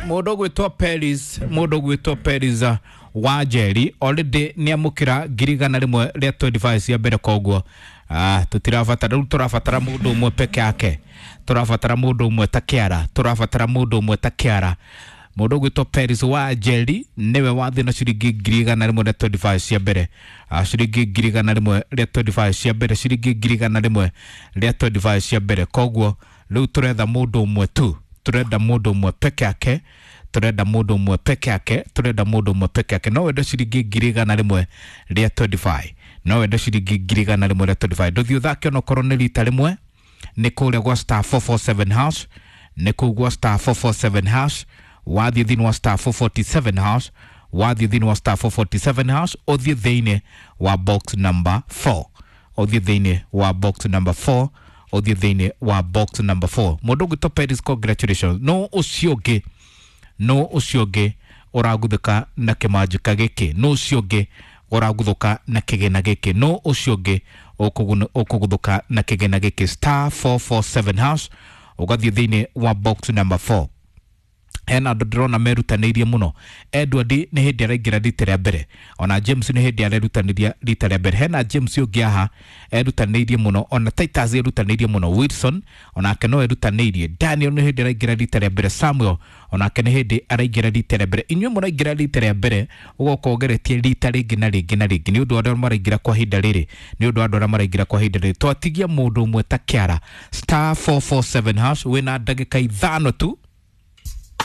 Mũndũ ũgwĩtwo Peris, mũndũ ũgwĩtwo Peris wa Njeri already nĩ amũkĩra 125,000 cia mbere. Koguo tũtirabatara rĩu, tũrabatara mũndũ ũmwe peke yake, tũrabatara mũndũ ũmwe ta kĩara, tũrabatara mũndũ ũmwe ta kĩara. Mũndũ ũgwĩtwo Peris wa Njeri nĩwe wathiĩ na ciringi 125,000 cia mbere. Ciringi 125,000 cia mbere, ciringi 125,000 cia mbere. Koguo rĩu tũretha mũndũ ũmwe tu, turenda mũndũ ũmwe peke yake, turenda mũndũ ũmwe peke yake, turenda mũndũ ũmwe peke yake. No wende ciringi 125,000, no wende ciringi 125,000. Ndũthiĩ ũthake onokorwo nĩ rita rĩmwe, nĩ kũrĩa gwa star 447 hash, nĩ kũu gwa star 447 hash. Wathiĩ thĩinĩ wa star 447 hash, wathiĩ thĩinĩ wa star 447 hash, ũthiĩ thĩinĩ wa box number 4, ũthiĩ thĩinĩ wa box number 4, ũthiĩ thĩinĩ wa box number 4. Mũndũ ũgwĩtwo Peris, congratulations. No ũcio ũngĩ, no ũcio ũngĩ ũraguthũka na kĩmanjĩka gĩkĩ, no ũcio ũngĩ ũraguthũka na kĩgĩna gĩkĩ, no ũcio ũngĩ ũkũguthũka na kĩgĩna gĩkĩ. Star 447 hash, ũgathiĩ thĩinĩ wa box number 4. Hena andũ ndĩrona merutanĩirie mũno. Edward nĩ hĩndĩ araingĩra rita rĩa mbere, ona James nĩ hĩndĩ arerutanĩria rita rĩa mbere. Hena James ũngĩ haha erutanĩirie mũno, ona Titus erutanĩirie mũno, Wilson onake no erutanĩirie, Daniel nĩ hĩndĩ araingĩra rita rĩa mbere, Samuel onake nĩ hĩndĩ araingĩra rita rĩa mbere. Inyuĩ mũraingĩra rita rĩa mbere, ũgoka ũgeretie rita rĩngĩ na rĩngĩ na rĩngĩ. Nĩ ũndũ wa arĩa maraingĩra kwa ihinda rĩrĩ, nĩ ũndũ wa andũ arĩa maraingĩra kwa ihinda rĩrĩ, twatigia mũndũ ũmwe ta kĩara. Star 447 hash, wĩna ndagĩka 5 tu.